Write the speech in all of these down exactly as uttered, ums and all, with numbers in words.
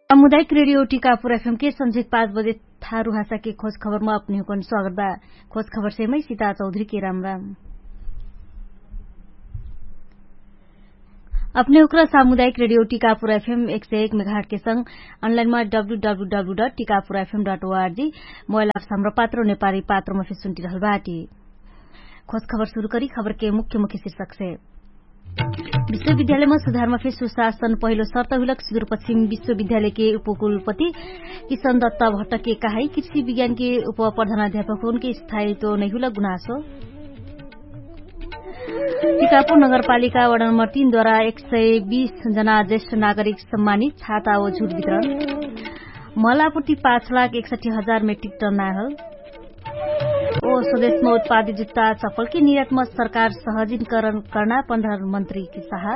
सामुदायिक रेडियो टिकापुर एफएम के सन्झिक पाँच बजे थारु हासाके खोज खबरमा अपनिहुकन स्वागत बा। खोज खबर सेमै सिता चौधरी के राम राम। अपने उक्रा सामुदायिक रेडियो टिकापुर एफएम एक सय एक मेघाट के संग अनलाइनमा W W W dot Tikapur FM dot ORG mobile apps हमरा पात्रो नेपाली पात्रोमा फेर सुन्टिरहल बाटी। खोज खबर सुरु करी खबर के मुख्य मुख्य शीर्षक से। विश्वविद्यालयमा सुधारमा फेर सुशासन पहिलो शर्त हुइलक सुदूरपश्चिम विश्वविद्यालय के उपकुलपति किशन दत्त भट्ट के कहाई कृषि विज्ञान के उपप्रधानाध्यापक हुन के स्थायित्व नैहुलक गुनासो। टिकापुर नगरपालिका वडा नम्बर तीन द्वारा एक सय बीस जना ज्येष्ठ नागरिक सम्मानित छाता ओ झुट वितरण। मलापुटी पाँच लाख एकसठी हजार मेट्रिक टन नाहल। ओ स्वदेशमा उत्पादित जुत्ता चप्पल के निर्यातमा सरकार सहजिनकरण कर्ना प्रधानमन्त्री के सहा।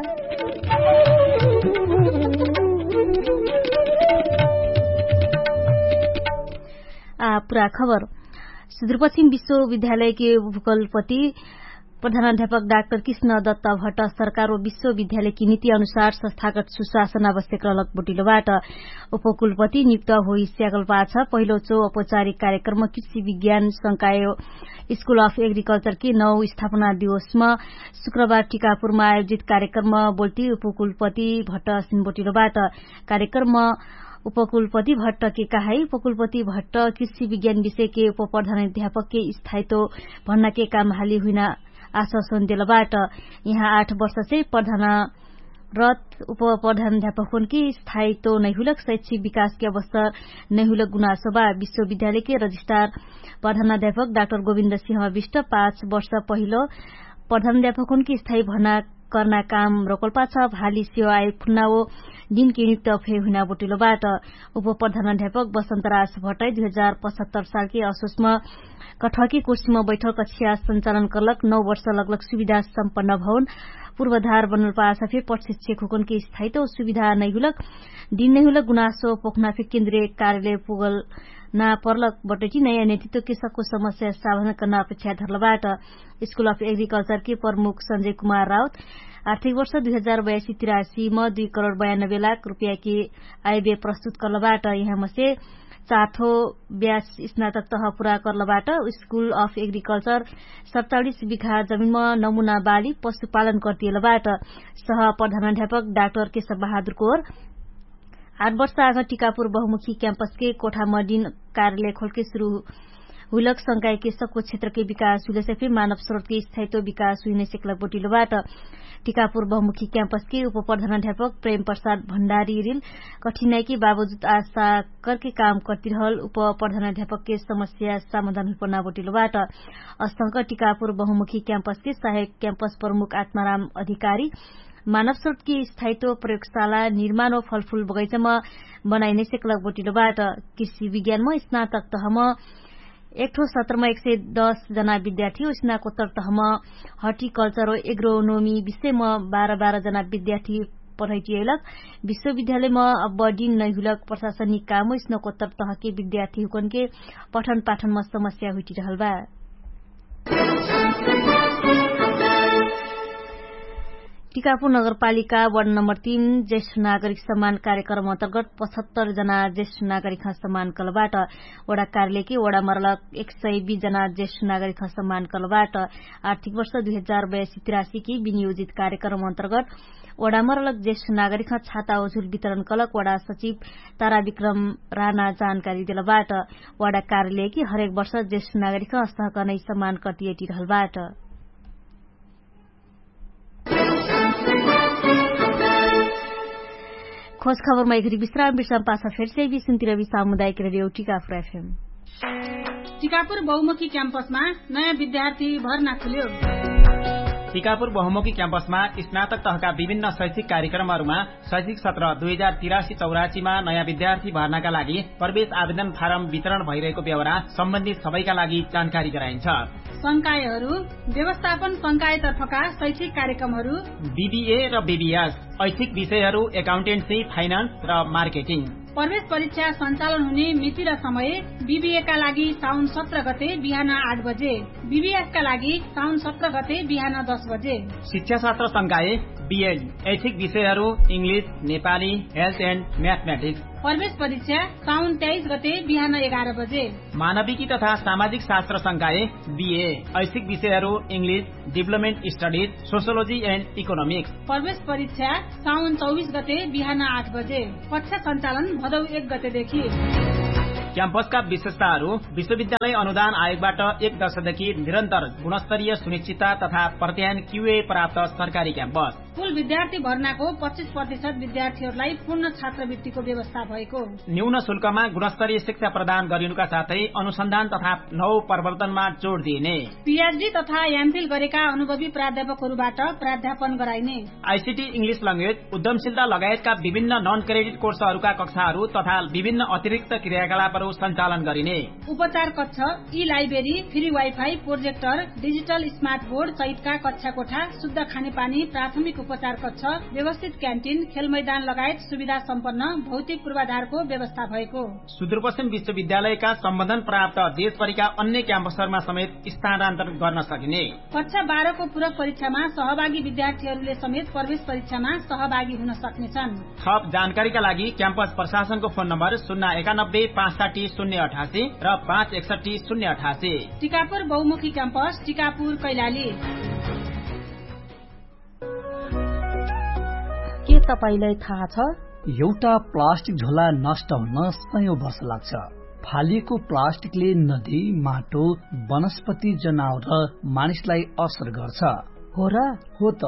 आ पुरा खबर। सुदूरपश्चिम विश्वविद्यालय के उपकुलपति प्रधानाध्यापक डाक्टर कृष्ण दत्त भट्ट सरकार ओ विश्वविद्यालय कि नीति अनुसार संस्थागत सुशासन आवश्यक रहलक बोटिलो बाट। उपकुलपति नियुक्त होइ स्यागल पाछ पहिलो चो औपचारिक कार्यक्रम कृषि विज्ञान संकाय स्कुल अफ एग्रिकल्चर कि नौ स्थापना दिवसमा शुक्रबार टिकापुरमा आयोजित कार्यक्रम बोल्टी उपकुलपति भट्ट सिन्बोटिलो बाट। कार्यक्रम उपकुलपति भट्ट के कहाई उपकुलपति भट्ट कृषि विज्ञान विषय के उपप्रधानाध्यापक के स्थायित्व भन्ना के काम हाली हुइना आश्वासन देल बाट। यहाँ आठ वर्ष से प्रधान रत उपप्रधानाध्यापक हुन कि स्थायित्व नैहुलक शैक्षिक विकास के अवस्था नैहुलक गुनासो बा। विश्वविद्यालय के रजिस्ट्रार प्रधानाध्यापक डाक्टर गोविन्द सिंह विष्ट पाँच वर्ष पहिलो प्रधानाध्यापक हुन कि स्थायी भर्ना कर्ना काम रोकल्पा छ। भाली सेवा आयोग खुन्ना ओ दिन के नियुक्त फे हुइना बोटिलो बाट। उपप्रधानाध्यापक बसन्तराज भट्टै दुई हजार पचहत्तर साल के असोसमा कठकी कुर्सीमा बैठल कछिया सञ्चालन कर्लक नौ वर्ष लगलक सुविधा सम्पन्न भवन पूर्वधार बनल पाछ फे प्रशिक्षक हुकन के स्थायित्व सुविधा नैहुलक दिन नैहुलक गुनासो पोखना फे केन्द्रीय कार्यालय पुगल ना पर्लक बटैटी नयाँ नेतृत्व के सक्को समस्या सावधान कर्ना अपेक्षा धर्लबाट। स्कुल अफ एग्रिकल्चर के प्रमुख सञ्जय कुमार राउत आर्थिक वर्ष दुई हजार बयासी तिरासी म दुई करोड बयानब्बे लाख रुपियाँ के आयबे प्रस्तुत कर्लबाट। यहाँ मसे चाथो ब्यास स्नातक तह पुरा कर्लबाट। स्कुल अफ एग्रिकल्चर सत्तालिस बिघा जमिनमा नमुना बाली पशुपालन कर्तियलबाट। सह प्रधानाध्यापक डाक्टर केशव बहादुर कोर आठ वर्ष आग टिकापुर बहुमुखी क्याम्पसके कोठामा दिन कार्यालय खोलके सुरु हुइलक संकायके सक्को क्षेत्रके विकास हुइलसे फे मानव स्रोतके स्थायित्व विकास हुइने सेक्लक बोटिलोबाट। टिकापुर बहुमुखी क्याम्पसके उपप्रधानाध्यापक प्रेम प्रसाद भण्डारी रिल कठिनाइके बावजुद आशा करके काम कर्तिरहल उपप्रधानाध्यापकके समस्या समाधान हुइपना बोटिलोबाट। अस्तंक टिकापुर बहुमुखी क्याम्पसके सहायक क्याम्पस प्रमुख आत्माराम अधिकारी मानव स्रोतकी स्थायित्व प्रयोगशाला निर्माण व फलफुल बगैचामा बनाइने सेक्लक बोटिलोबाट। कृषि विज्ञानमा स्नातक तहमा एकठो सत्रमा एक सय दस जना विद्यार्थी व स्नाकोत्तर तहमा हर्टिकल्चर व एग्रोनोमी विषयमा बाह्र बाह्र जना विद्यार्थी पढैटियलक। विश्वविद्यालयमा अब डिन नैहुलक प्रशासनिक काम स्नाकोत्तर तहके विद्यार्थी हुकनके पठन पाठनमा समस्या हुइटिरहल बा। टिकापुर नगरपालिका वार्ड नम्बर तीन ज्येष्ठ नागरिक सम्मान कार्यक्रम अन्तर्गत पचहत्तर जना ज्येष्ठ नागरिक सम्मान कलबाट। वडा कार्यालयकी वडा मरलक एक सय बीस जना ज्येष्ठ नागरिक सम्मान कलबाट। आर्थिक वर्ष दुई हजार बयासी तिरासीकी विनियोजित कार्यक्रम अन्तर्गत वडा मरलक ज्येष्ठ नागरिक छाता ओझुल वितरण कलक वडा सचिव तारा विक्रम राना जानकारी देलबाट। वडा कार्यालयकी हरेक वर्ष ज्येष्ठ नागरिक अस्तहकनै सम्मान कर्तियटिरहलबाट। खोज खबरमा एघरी विश्राम विश्राम पाछा फेरसे बिसुन्तिर बि सामुदायिक रेडियो टिकापुर एफएम। टिकापुर बहुमुखी क्याम्पसमा नयाँ विद्यार्थी भर्ना खुल्यो। टिकापुर बहुमुखी क्याम्पसमा स्नातक तहका विभिन्न शैक्षिक कार्यक्रमहरूमा शैक्षिक सत्र दुई हजार तिरासी चौरासीमा नयाँ विद्यार्थी भर्नाका लागि प्रवेश आवेदन फारम वितरण भइरहेको व्यवहार सम्बन्धित सबैका लागि जानकारी गराइन्छ। संकायहरू व्यवस्थापन संकायतर्फका शैक्षिक कार्यक्रमहरू बिबिए र बिबिएस ऐच्छिक विषयहरू एकाउन्टेन्सी फाइनान्स र मार्केटिङ। प्रवेश परीक्षा सञ्चालन हुने मिति र समय बिबिएका लागि साउन सत्र गते बिहान आठ बजे, बिबिएसका लागि साउन सत्र गते बिहान दस बजे। शिक्षाशास्त्र संकाय बिएड ऐच्छिक विषयहरू, इङ्ग्लिस, नेपाली, हेल्थ एन्ड म्याथम्याटिक्स। प्रवेश परीक्षा साउन तेइस गते बिहान एघार बजे। मानविकी तथा सामाजिक शास्त्र संकाय, बिए ऐच्छिक विषयहरू, English, deployment studies, sociology end economics. प्रवेश परीक्षा साउन चौबिस गते बिहान आठ बजे। कक्षा सञ्चालन भदौ एक गतेदेखि। क्याम्पसका विशेषताहरू, विश्वविद्यालय अनुदान आयोगबाट एक दशकदेखि निरन्तर गुणस्तरीय सुनिश्चितता तथा प्रत्यायन क्युए प्राप्त सरकारी क्याम्पस। कुल विद्यार्थी भर्नाको पच्चिस प्रतिशत विद्यार्थीहरूलाई पूर्ण छात्रवृत्तिको व्यवस्था भएको। न्यून शुल्कमा गुणस्तरीय शिक्षा प्रदान गरिनुका साथै अनुसन्धान तथा नौ प्रवर्तनमा जोड दिइने। पिएचडी तथा एमफिल गरेका अनुभवी प्राध्यापकहरूबाट प्राध्यापन गराइने। आइसिटी, इङ्ग्लिस ल्याङ्ग्वेज, उद्यमशीलता लगायतका विभिन्न नन क्रेडिट कोर्सहरूका कक्षाहरू तथा विभिन्न अतिरिक्त क्रियाकलापहरू सञ्चालन गरिने। उपचार कक्ष, ई library, free wifi, projector, digital smart board सहितका कक्षा कोठा, शुद्ध खानेपानी, प्राथमिक उपचार कक्ष, व्यवस्थित क्यान्टिन, खेल मैदान लगायत सुविधा सम्पन्न भौतिक पूर्वाधारको व्यवस्था भएको। सुदूरपश्चिम विश्वविद्यालयका सम्बन्धन प्राप्त देशभरिका अन्य क्याम्पसहरूमा समेत स्थानान्तरण गर्न सकिने। कक्षा बाह्रको पूरक परीक्षामा सहभागी विद्यार्थीहरूले समेत प्रवेश परीक्षामा सहभागी हुन सक्नेछन्। थप जानकारीका लागि क्याम्पस प्रशासनको फोन नम्बर शून्य एकानब्बे पाँच साठी शून्य अठासी र पाँच एकसठी शून्य अठासी। टिकापुर बहुमुखी क्याम्पस, टिकापुर कैलाली। के तपाईंलाई थाहा छ? एउटा प्लास्टिक झोला नष्ट हुन सयौं वर्ष लाग्छ। फालिएको प्लास्टिकले नदी, माटो, वनस्पति, जनावर र मानिसलाई असर गर्छ। हो र? हो त।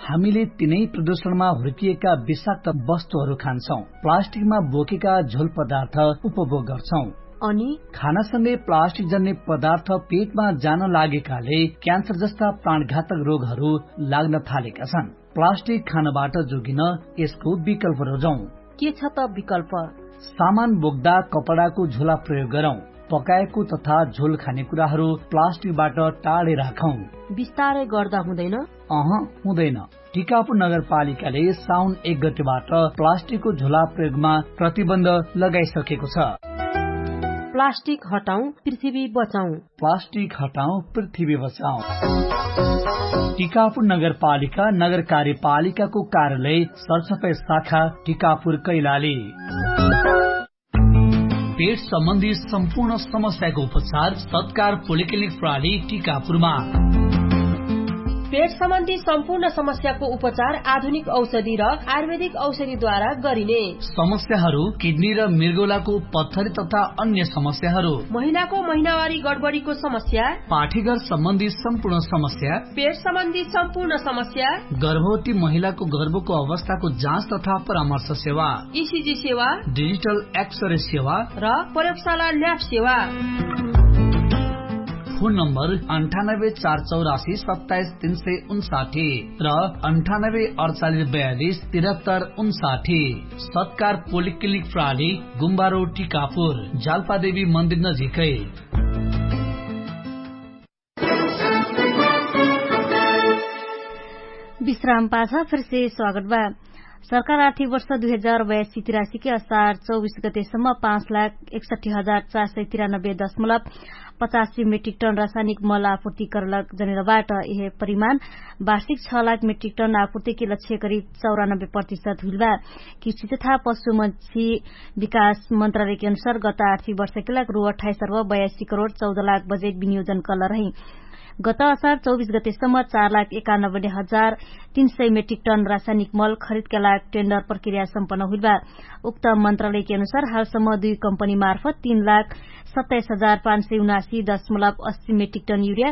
हामीले तिनै प्रदूषणमा हुर्किएका विषाक्त वस्तुहरू खान्छौं। प्लास्टिकमा बोकेका झोल पदार्थ उपभोग गर्छौं। अनि? खानासँगै प्लास्टिक जन्ने पदार्थ पेटमा जान लागेकाले क्यान्सर जस्ता प्राणघातक रोगहरू लाग्न थालेका छन्। प्लास्टिक खानबाट जोगिन यसको विकल्प रोजौं। के छ त विकल्प? सामान बोक्दा कपडाको झोला प्रयोग गरौं। पकाएको तथा झोल खाने कुराहरू प्लास्टिकबाट टाढे राखौं। बिस्तारै गर्दा हुँदैन? अह, हुँदैन। टिकापुर नगरपालिकाले साउन एक गतेबाट प्लास्टिकको झोला प्रयोगमा प्रतिबन्ध लगाइसकेको छ। प्लास्टिक हटाउँ, पृथ्वी बचाउँ। प्लास्टिक हटाउँ, पृथ्वी बचाउँ। टिकापुर नगरपालिका, नगर कार्यपालिकाको कार्यालय, सरसफाइ शाखा, टिकापुर कैलाली। पेट सम्बन्धी सम्पूर्ण समस्याको उपचार सत्कार पोलिक्लिनिक प्रणाली टिकापुरमा। पेट सम्बन्धी सम्पूर्ण समस्याको उपचार आधुनिक औषधि र आयुर्वेदिक औषधिद्वारा गरिने। समस्याहरू किडनी र मृगौलाको पत्थरी तथा अन्य समस्याहरू। महिलाको महिनावारी गडबडीको समस्या। पाठीघर सम्बन्धी सम्पूर्ण समस्या। पेट सम्बन्धी सम्पूर्ण समस्या। गर्भवती महिलाको गर्भको अवस्थाको जाँच तथा परामर्श सेवा। इसिजी सेवा। डिजिटल एक्सरे सेवा। र प्रयोगशाला ल्याब सेवा। फोन नम्बर अन्ठानब्बे चार चौरासी सत्ताइस तीन सय उन्साठी र अन्ठानब्बे अडचालिस बयालिस तिरहत्तर उन्साठी। सत्कार पोलिक्लिनिक प्रणाली, गुम्बारो टिकापुर, जालपादेवी मन्दिर नजिकै। विश्राम पाछ फिरसे स्वागत बा। सरकार आर्थिक वर्ष दुई हजार बयासी तिरासीके असार चौबिस गतेसम्म पाँच लाख एकसठी हजार चार सय तिरानब्बे दशमलव पचासी मेट्रिक टन रासायनिक मल आपूर्ति करलक जनेरबाट यह परिमाण वार्षिक छ लाख मेट्रिक टन आपूर्तिके लक्ष्य करिब चौरानब्बे प्रतिशत हुइलबा। कृषि तथा पशुमक्षी विकास मन्त्रालयके अनुसार गत आर्थिक वर्षके लाग रु अठाइस अर्ब बयासी करोड चौध लाख बजेट विनियोजन कलरही। गत असार चौबिस गतेसम्म चार लाख एकानब्बे हजार तीन सय मेट्रिक टन रासायनिक मल खरिदका लाग टेन्डर प्रक्रिया सम्पन्न हुइलबा। उक्त मन्त्रालयके अनुसार हालसम्म दुई कम्पनी मार्फत तीन लाख सत्ताइस हजार पाँच सय उनासी दशमलव अस्सी मेट्रिक टन युरिया,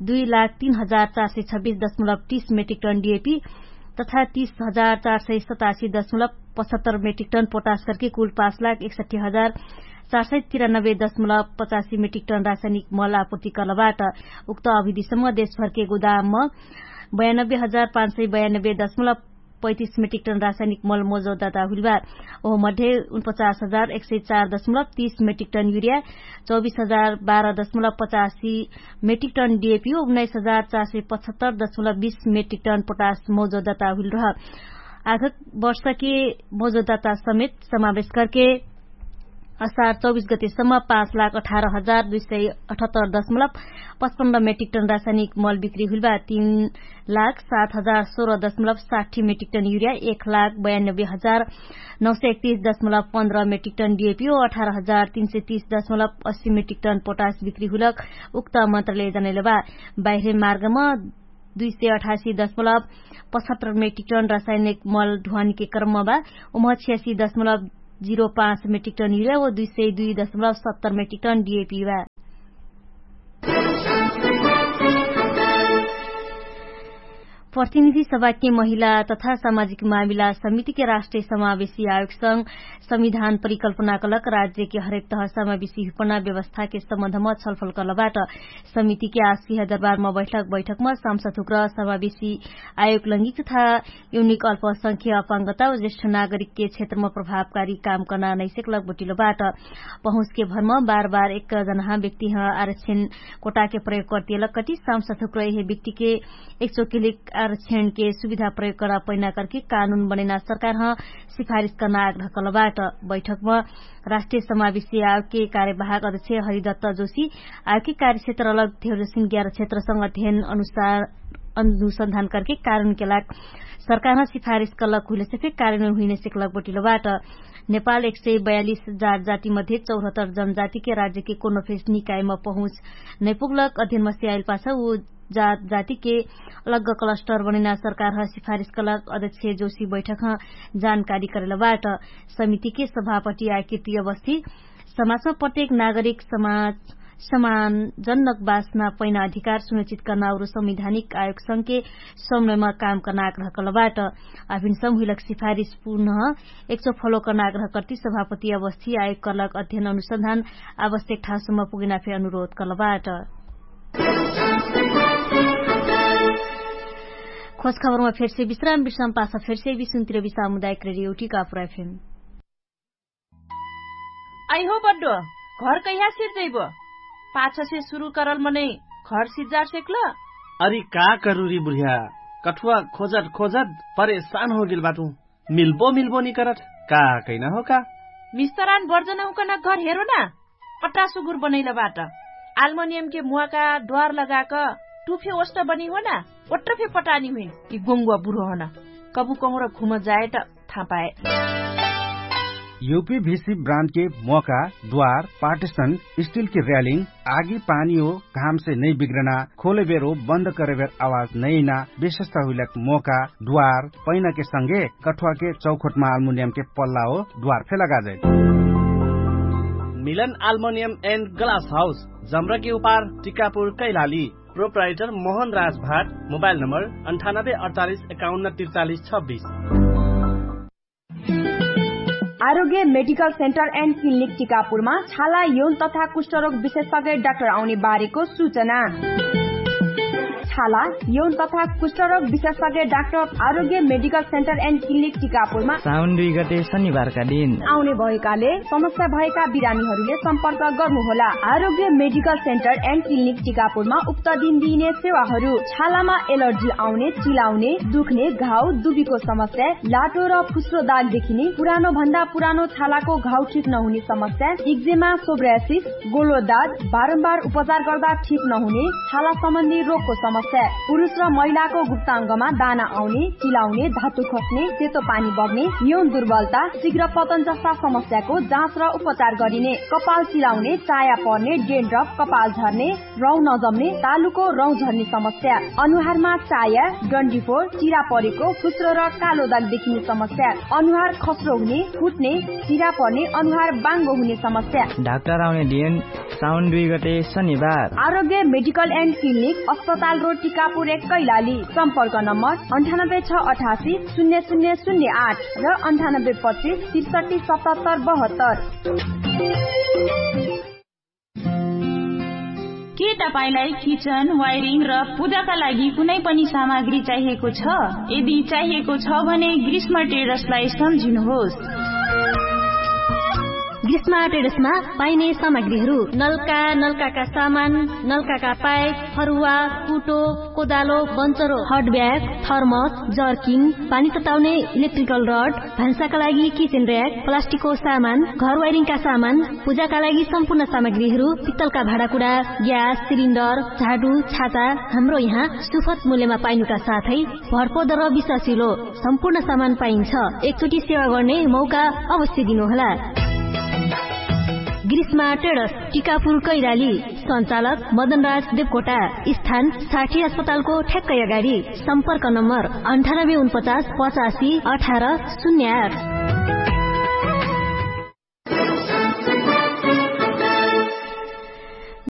दुई लाख तीन हजार चार सय छब्बिस दशमलव तीस मेट्रिक टन डिएपी तथा तीस हजार चार सय सतासी दशमलव पचहत्तर मेट्रिक टन पोटास करके कुल पाँच लाख एकसठी हजार चार सय तिरानब्बे दशमलव पचासी मेट्रिक टन रासायनिक मल आपूर्ति करलबाट। उक्त अभिधिसम्म देशभरके गोदामम बयानब्बे हजार पाँच सय बयानब्बे दशमलव पैतिस मेट्रिक टन रासायनिक मल मौजौदाता हुइलबा। ओह मध्ये उनपचास हजार एक सय चार दशमलव तीस मेट्रिक टन युरिया, चौबिस हजार बाह्र दशमलव पचासी मेट्रिक टन डिएपी, उन्नाइस हजार चार सय पचहत्तर दशमलव बीस मेट्रिक टन पोटास मौजौदाता हुइलरह। आगक वर्षके मौजौदाता समेत समावेश करके असार चौबिस गतेसम्म पाँच लाख अठार हजार दुई सय अठहत्तर दशमलब पचपन्न मेट्रिक टन रासायनिक मल बिक्री हुइलबा, तीन लाख सात हजार सोह्र दशमलब साठी मेट्रिक टन युरिया, एक लाख बयानब्बे हजार नौ सय एकतिस दशमलब पन्ध्र मेट्रिक टन डिएपी ओ अठार हजार तीन सय तीस दशमलब अस्सी मेट्रिक टन पोटास बिक्री हुइलक उक्त मन्त्रालय जनैलबा। बाहिर मार्गमा दुई सय अठासी दशमलब पचहत्तर मेट्रिक टन रासायनिक मल ढुवानीके क्रममा बा। उमह छियासी दशमलब जिरो पाँच मेट्रिक टन युरिया ओ दुई सय दुई दशमलब सत्तर मेट्रिक टन डिएपी बा। प्रतिनिधि सभाके महिला तथा सामाजिक मामिला समितिके राष्ट्रिय समावेशी आयोगसँग संविधान परिकल्पनाकलक राज्यके हरेक तह समावेशी हुपना व्यवस्थाके सम्बन्धमा छलफल कलबाट। समितिके आशिह दरबारमा बैठक बैठकमा सांसद हुक्र समावेशी आयोग लैंगिक तथा युनिक अल्पसंख्य अपाङ्गता ज्येष्ठ नागरिकके क्षेत्रमा प्रभावकारी काम कर्ना नैसेक लगबटिलो बाट। पहुँचके भरमा बार बार एक जनाहा व्यक्तिह आरक्षण कोटाके प्रयोग कर्तियलक कति सांसद हुक्र यहे व्यक्तिके एक चोकिलिक आरक्षणके सुविधा प्रयोग कर्ना पैना करके कानुन बनैना सरकारह सिफारिस कर्ना आग्रह कलबाट। बैठकमा राष्ट्रिय समावेशी आयोगके कार्यवाहक अध्यक्ष हरिदत्त जोशी आयोगके कार्यक्षेत्र अलग धेरजोसिन ग्यार क्षेत्रसँग अध्ययन अनुसार अनुसन्धान करके कानुनके लाग सरकारह सिफारिस कलक हुइलेसे फेर कानुन हुइने सेकलक बटिलो बाट। नेपाल एक सय बयालिस जात जाति मध्ये चौहत्तर जनजातिके राज्यके कोनो फेस निकायमा पहुँच नैपुगलक अध्ययनमा सियाइल पाछ उ जात जातिके अलग क्लस्टर बनैना सरकारह सिफारिस कलक अध्यक्ष जोशी बैठकह जानकारी करेलबाट। समितिके सभापति आकृति अवस्थी समाजमा प्रत्येक नागरिक समाज समानजनक बासना पैना अधिकार सुनिश्चित कर्ना अउरु संविधानिक आयोगसँगके समन्वयमा काम कर्ना आग्रह कलबाट। अभिन समहुइलक सिफारिस पुनः एकचो फलो कर्ना आग्रह कर्ति सभापति अवस्थी आयोग कलक अध्ययन अनुसन्धान आवश्यक ठासुमा पुगेना फे अनुरोध कलबाट। खोज खबरमा फेरसे विश्राम विश्राम पासा फेरसे विश्राम तिरवि सामुदायिक रेडियो टिकापुर एफएम। अइहो बड्डो, घर कैहा सिर्जैबो? पाछसे सुरु करल मनै घर सिर्जार सेक्ल? अरि का करुरी बुढिया, कठुवा खोजत खोजत परेशान होगेल बाटु। मिल्बो मिल्बो निकरत का कैना हो का? मिस्तरान बर्जनहुकन घर हेरो ना। अट्टा सुगुर बनैल बाट। आल्मोनियमके मुवाका द्वार लगाक टुफे ओष्ट बनी हो ना। ओट्ट फे पटानी हुइन। यि गोङ्गुवा बुढो हन। कबु कहुँर घुम जाएट थापाए। युपी भिसी ब्रान्डके मोका द्वार पार्टिसन स्टिलके र्यालिङ आगी पानी हो घामसे नै बिग्रना खोलेबेर हो बन्द करेबेर आवाज नैना विशेषता हुइलक मोका द्वार पैनाके संगे कठुवाके चौखोटमा आल्मुनियमके पल्ला हो द्वार फे लगाजै। मिलन आल्मुनियम एन्ड ग्लास हाउस जम्रके उपार टिकापुर कैलाली। प्रोप्राइटर मोहन राज भाट। मोबाइल नम्बर अन्ठानब्बे अडचालिस एकाउन्न त्रिचालिस छब्बिस। आरोग्य मेडिकल सेन्टर एन्ड क्लिनिक टिकापुरमा छाला यौन तथा कुष्ठरोग विशेषज्ञ डाक्टर आउने बारेको सूचना। छाला यौन तथा कुष्ठरोग विशेषज्ञ डाक्टर आरोग्य मेडिकल सेन्टर एन्ड क्लिनिक टिकापुरमा साउन दुई गते शनिबारका दिन आउने भएकाले समस्या भएका बिरामीहरूले सम्पर्क गर्नुहोला। आरोग्य मेडिकल सेन्टर एन्ड क्लिनिक टिकापुरमा उक्त दिन दिइने सेवाहरू छालामा एलर्जी आउने, चिलाउने, दुख्ने, घाउ, दुबीको समस्या, लाटो र फुस्रो दाग देखिने, पुरानो भन्दा पुरानो छालाको घाउ ठिक नहुने समस्या, इक्जेमा, सोब्रासिस, गोलो दाग, बारम्बार उपचार गर्दा ठिक नहुने, छाला सम्बन्धी रोगको समस्या, पुरुष र महिलाको गुप्ताङ्गमा दाना आउने, चिलाउने, धातु खस्ने, सेतो पानी बग्ने, यौन दुर्बलता, शीघ्र पतन जस्ता समस्याको जाँच र उपचार गरिने, कपाल चिलाउने, चाया पर्ने, डेन्ड्रफ, कपाल झर्ने, रौँ नजम्ने, तालुको रौँ झर्ने समस्या, अनुहारमा चाया, डन्डीफोर, चिरा परेको, फुस्रो र कालो दाग देखिने समस्या, अनुहार खस्रो हुने, फुट्ने, चिरा पर्ने, अनुहार बाङ्गो हुने समस्या। डाक्टर आउने दिन साउन दुई गते शनिबार। आरोग्य मेडिकल एन्ड क्लिनिक, अस्पताल रोड, टिकापुर एक, कैलाली। सम्पर्क नम्बर अन्ठानब्बे छ अठासी शून्य शून्य शून्य आठ र अन्ठानब्बे पच्चिस त्रिसठी सतहत्तर बहत्तर। के तपाईंलाई किचन, वायरिङ र पूजाका लागि कुनै पनि सामग्री चाहिएको छ? यदि चाहिएको छ भने ग्रीष्म ट्रेडर्सलाई सम्झिनुहोस्। स्मार्ट एडसमा पाइने सामग्रीहरू नल्का नल्काका सामान, नल्काका पाइप, फरुवा, कुटो, कोदालो, बन्चरो, हटब्याग, थर्मस, जर्किन, पानी तताउने, इलेक्ट्रिकल रड, भान्साका लागि किचेन र्याक, प्लास्टिकको सामान, घर वाइरिङका सामान, पूजाका लागि सम्पूर्ण सामग्रीहरू, पित्तलका भाँडाकुडा, ग्यास सिलिन्डर, झाडु, छाता, हाम्रो यहाँ सुफत मूल्यमा पाइनुका साथै भरपर्दर विश्वासिलो सम्पूर्ण सामान पाइन्छ। एकचोटि सेवा गर्ने मौका अवश्य दिनुहोला। ग्रीष्मा टेडस, टिकापुर कैराली। सञ्चालक मदनराज देवकोटा। स्थान साठी अस्पतालको ठ्याक्कै अगाडि। सम्पर्क नम्बर अन्ठानब्बे उनपचास पचासी अठार शून्य आठ।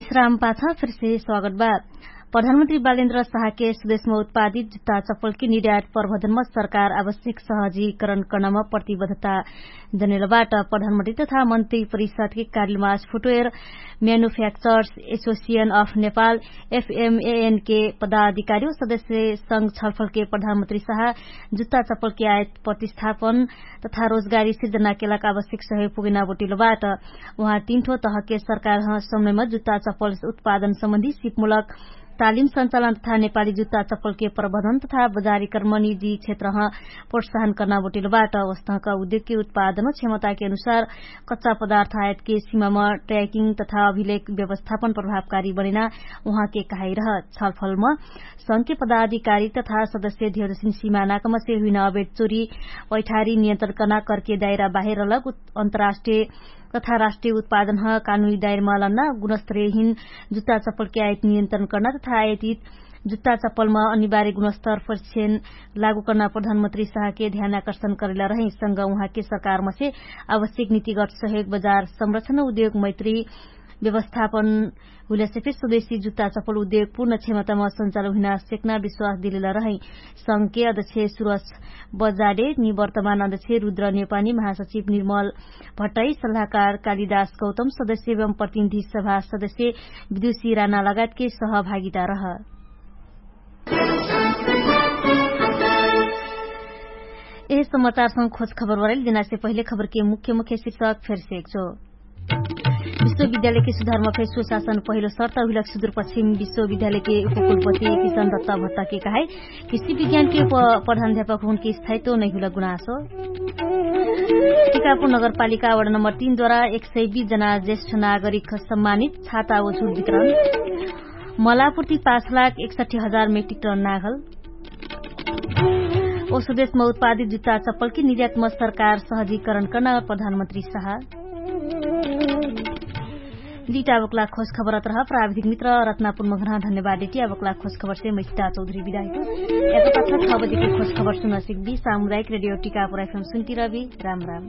विश्राम पाछ फेरसे स्वागत बा। प्रधानमन्त्री बालेन्द्र साहके स्वदेशमा उत्पादित जुत्ता चप्पलके निर्यात प्रबन्धनमा सरकार आवश्यक सहजीकरण कर्नामा प्रतिबद्धता जनेलबाट। प्रधानमन्त्री तथा मन्त्री परिषदके कार्यलमा आज फुटवेयर म्यानुफ्याक्चर्स एसोसिएन अफ नेपाल एफएमएएनके पदाधिकारी सदस्य संग छलफलके प्रधानमन्त्री साह जुत्ता चप्पलके आयत प्रतिस्थापन तथा रोजगारी सिर्जनाके लाग आवश्यक सहयोग पुगेना बोटिलबाट। उहाँ तीन ठो तहके सरकार समयमा जुत्ता चप्पल उत्पादन सम्बन्धी सिपमूलक तालिम सञ्चालन तथा नेपाली जुत्ता चप्पलके प्रबन्धन तथा बजारीकरण निजी क्षेत्रह प्रोत्साहन कर्ना बोटिलबाट। वस्तहका उद्योगके उत्पादन क्षमताके अनुसार कच्चा पदार्थ आयतके सिमामा ट्र्याकिङ तथा अभिलेख व्यवस्थापन प्रभावकारी बनेना उहाँके कहाइरह। छलफलमा संघके पदाधिकारी तथा सदस्य ध्यौजसिन सिमानाकमसे हुइन अबेट चोरी पैठारी नियन्त्रण कर्ना कर्के दायरा बाहेर लग अन्तराष्ट्रिय तथा राष्ट्रिय उत्पादनह कानुनी दायरमा लन्ना गुणस्तरहिन जुत्ता चप्पलके आयत नियन्त्रण कर्ना तथा आयतित जुत्ता चप्पलमा अनिवार्य गुणस्तर परिक्षण लागू कर्ना प्रधानमन्त्री साहके ध्यानाकर्षण करेला रहै। संग उहाँके सरकारमसे आवश्यक नितिगत सहयोग बजार संरक्षण उद्योग मैत्री व्यवस्थापन हुइलासे फेर स्वदेशी जुत्ता चप्पल उद्योग पूर्ण क्षमतामा सञ्चालन हुइना सेक्ना विश्वास दिलेला रहै। संघके अध्यक्ष सुरस बजाडे निवर्तमान अध्यक्ष रुद्र नेपानी महासचिव निर्मल भट्टै सल्लाहकार कालिदास गौतम सदस्य एवं प्रतिनिधि सभा सदस्य विदुषी राना लगायतके सहभागिता रह। यह समाचारसँग खोज खबर वरैल दिनासे पहिले खबरके मुख्य मुख्य शिक्षक फेरसेक छो। विश्वविद्यालयके सुधारमा फेर सुशासन पहिलो शर्त हुइलक सुदूरपश्चिम विश्वविद्यालयके उपकुलपति किशन दत्ता भत्ताके कहाई। कृषि विज्ञानके प्रधानध्यापक हुनके स्थायित्व नैहुइलक गुनासो। टिकापुर नगरपालिका वडा नम्बर तीन द्वारा एक सय बीस जना ज्येष्ठ नागरिक सम्मानित छाता ओझुट वितरण। मलापुर्ति पाँच लाख एकसठी हजार मेट्रिक टन नागल। ओसो देशमा उत्पादित जुत्ता चप्पलके निर्यातमा सरकार सहजीकरण कर्ना प्रधानमन्त्री साहा। लिटा बक्ला खोज खबर अत्रह प्राविधिक मित्र रत्नापुर मघना धन्यवाद देटी। बक्ला खोज खबर से मैसिता चौधरी विदायक। याको पाछा छ बजेके खोज खबर सुनसिक बी सामुदायिक रेडियो टिका पुराइफम सुन्ती रबी। राम राम।